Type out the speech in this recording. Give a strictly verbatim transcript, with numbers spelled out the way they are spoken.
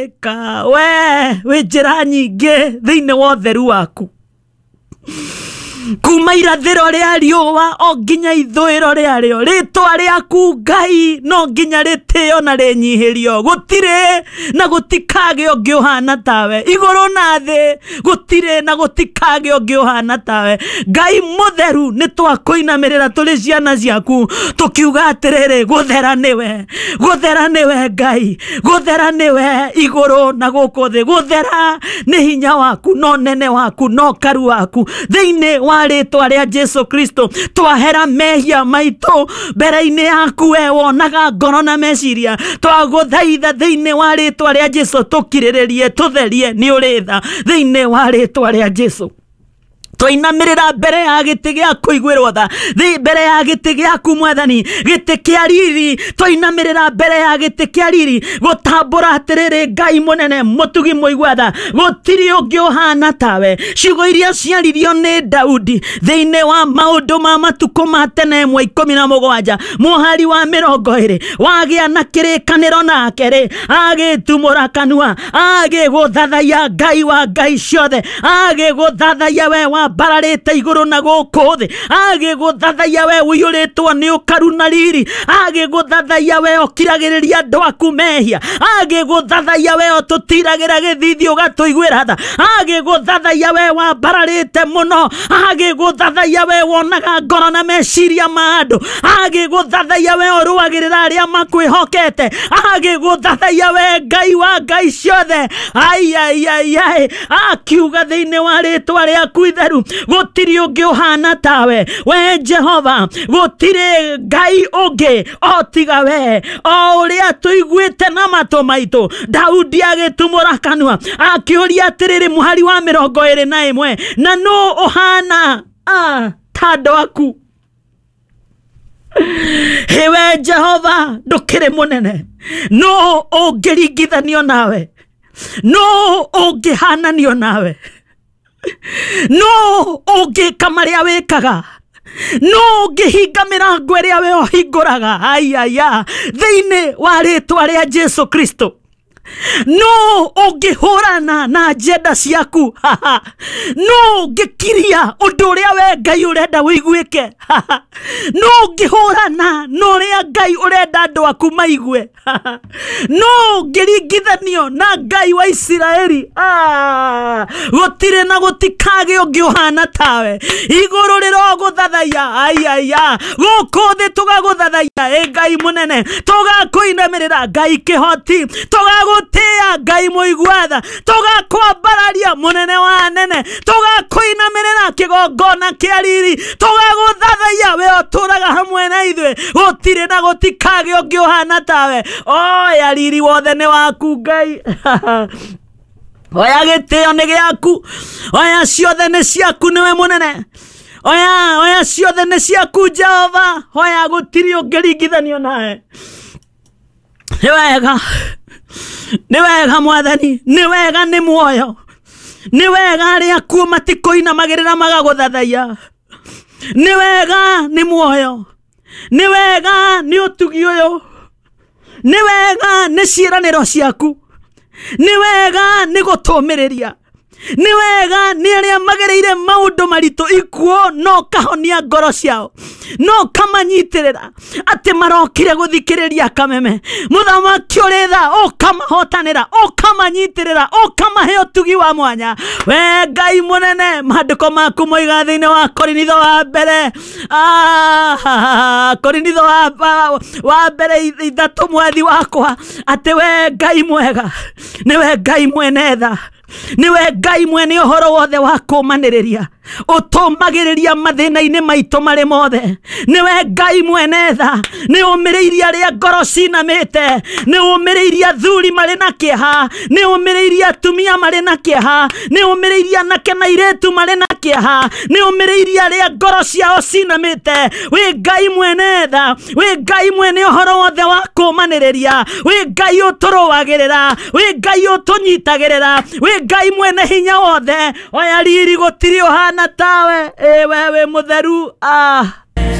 Wĩka we wĩ njĩra nyingĩ thĩinĩ wa ũtheru waku, kuma irathĩro rĩa riũa o nginya ithũĩro rĩarĩo, rĩtwa rĩaku Ngai no nginya rĩtĩo na rĩnyihĩrio. Gũtirĩ na gũtikagĩa ũngĩ ũhana tawe, igũrũ na thĩ gũtirĩ na gũtikagĩa ũngĩ ũhana tawe. Ngai mũtheru, nĩ twakũinamĩrĩra tũrĩ ciana ciaku tũkiuga atĩrĩrĩ, gũthera nĩwe, gũthera nĩwe Ngai, gũthera nĩwe igũrũ na gũkũ thĩ, gũthera nĩ hinya waku no nene waku no karu waku. Thĩinĩ wa rĩtwa rĩa Jesu Kristo twahera mehia maitũ mbere-inĩ yaku, we wonaga ngoro na meciria. Twagũthaitha thĩinĩ wa rĩtwa rĩa Jesu tũkirĩrĩrie, tũtherie, nĩ ũrĩ tha thĩinĩ wa rĩtwa rĩa Jesu. Twainamĩrĩra mbere ya gĩtĩ gĩa kũiguĩrwo tha, thĩ mbere ya gĩtĩ gĩaku Mwathani, gĩtĩ kĩa riri. Twainamĩrĩra mbere ya gĩtĩ kĩa riri gũtambũra atĩrĩrĩ, Ngai mũnene mũtugi mũigua tha, gũtirĩ ũngĩ ũhana tawe. Ciugo iria ciaririo nĩ Daudi thĩinĩ wa maũndũ ma matukũ ma tene ĩmwe ikũmi na mũgwanja mũhari wa mĩrongo ĩrĩ, wagĩa na kĩrĩkanĩro nake rĩ, agĩtumũra kanua agĩgũthathaiya Ngai wa ngai ciothe, agĩgũthathaiya we wa mbararĩte igũrũ na gũkũ thĩ, agĩgũthathaiya we ũiyũrĩtwo nĩ ũkaru na riri, agĩgũthathaiya we ũkiragĩrĩria andũ aku mehia, agĩgũthathaiya we ũtũtiragĩra gĩthithi ũgatũiguĩra tha, agĩgũthathaiya we wambararĩte mũno, agĩgũthathaiya we wonaga ngoro na meciria ma andũ, agĩgũthathaiya we ũrũagĩrĩra arĩa makwĩhokete, agĩgũthathaiya we Ngai wa ngai ciothe. Ai ai ai ai, akiuga thĩinĩ wa rĩtwa rĩaku itheru, gũtirĩ ũngĩ ũhana tawe we Jehova, gũtirĩ Ngai ũngĩ o tiga we, o ũrĩa tũiguĩte na matũ maitũ. Daudi agĩtumũra kanua akĩũria atĩrĩrĩ, mũhari wa mĩrongo ĩrĩ na ĩmwe, na nũ ũhana ah, ta andũ aku? Hĩwe Jehova, ndũkĩrĩ mũnene, nũ ũngĩringithanio nawe? Nũ ũngĩhananio nawe? Nũ ũngĩka marĩa wĩkaga? Nũ ũngĩhinga mĩrango ĩrĩa we ũhingũraga? Aiaya, thĩinĩ wa rĩtwa rĩa Jesu Kristo, nũ ũngĩhũrana na njenda ciaku? Nũ ũngĩkiria ũndũ ũrĩa we Ngai ũrenda ũiguĩke? Nũ ũngĩhũrana na ũrĩa Ngai ũrenda andũ aku maigue? Nũ ũngĩringithanio na Ngai wa Isiraeli? Ah, gũtirĩ na gũtikagĩa ũngĩ ũhana tawe. Igũrũ rĩrogũthathaiya, aiaya, gũkũ thĩ tũgagũthathaiya, ĩ Ngai mũnene, tũgakũinamĩrĩra Ngai kĩhoti, tũgagũtĩĩa Ngai mũigua tha, tũgakwambararia mũnene wa anene, tũgakũinamĩrĩra kĩgongona kĩa riri, tũgagũthathaiya we ũtũraga hamwe na ithuĩ. Gũtirĩ na gũtikagĩa ũngĩ ũhana tawe. Oya riri wothe nĩ waku Ngai. Oya gĩtĩo nĩ gĩaku, oya ciothe nĩ ciaku, nĩwe mũnene. Oya oya ciothe nĩ ciaku Jehova, oya gũtirĩ ũngĩringithanio nawe. Nĩ wega, nĩ wega Mwathani, nĩ wega, nĩ muoyo, nĩ wega arĩa akuũ matikũinamagĩrĩra magagũthathaiya. Nĩ wega, nĩ muoyo, nĩ wega, nĩ ũtugi ũyũ, nĩ wega, nĩ ciĩranĩro ciaku, nĩ wega, nĩ gũtũmĩrĩria, nĩ wega, nĩ arĩa magereire maũndũ maritũ ikuũ no kahonia ngoro ciao, no kamanyitĩrĩra atĩ marokire gũthikĩrĩria kameme. Mũthamaki ũrĩ tha, ũkamahotanĩra, ũkamanyitĩrĩra, ũkamahe ũtugi wa mwanya. We Ngai mũnene, maandĩko maku moiga thĩinĩ wa Korinitho wa mbere, ah, Korinitho wa, wa, wa mbere ithatũ, mwathi wakwa, atĩ we Ngai mwega, nĩwe Ngai mwene tha, nĩwe Ngai mwene ũhoro wothe wa kũmanĩrĩria, ũtũmagĩrĩria mathĩna-inĩ maitũ marĩ mothe. Nĩwe Ngai mwene tha, nĩ ũmĩrĩirie arĩa ngoro cinamĩte, nĩ ũmĩrĩirie athuri marĩ na kĩeha, nĩ ũmĩrĩirie atumia marĩ na kĩeha, nĩ ũmĩrĩirie anake na airĩtu marĩ na kĩeha, nĩ ũmĩrĩirie arĩa ngoro ciao cinamĩte. Wĩ Ngai mwene tha, wĩ Ngai mwene ũhoro wothe wa kũmanĩrĩria, wĩ Ngai ũtũrũagĩrĩra, wĩ Ngai ũtũnyitagĩrĩra, wĩ Ngai mwene hinya wothe. Oya riri, gũtirĩ ũhana tawe, ĩ we wĩ mũtheru. Ah.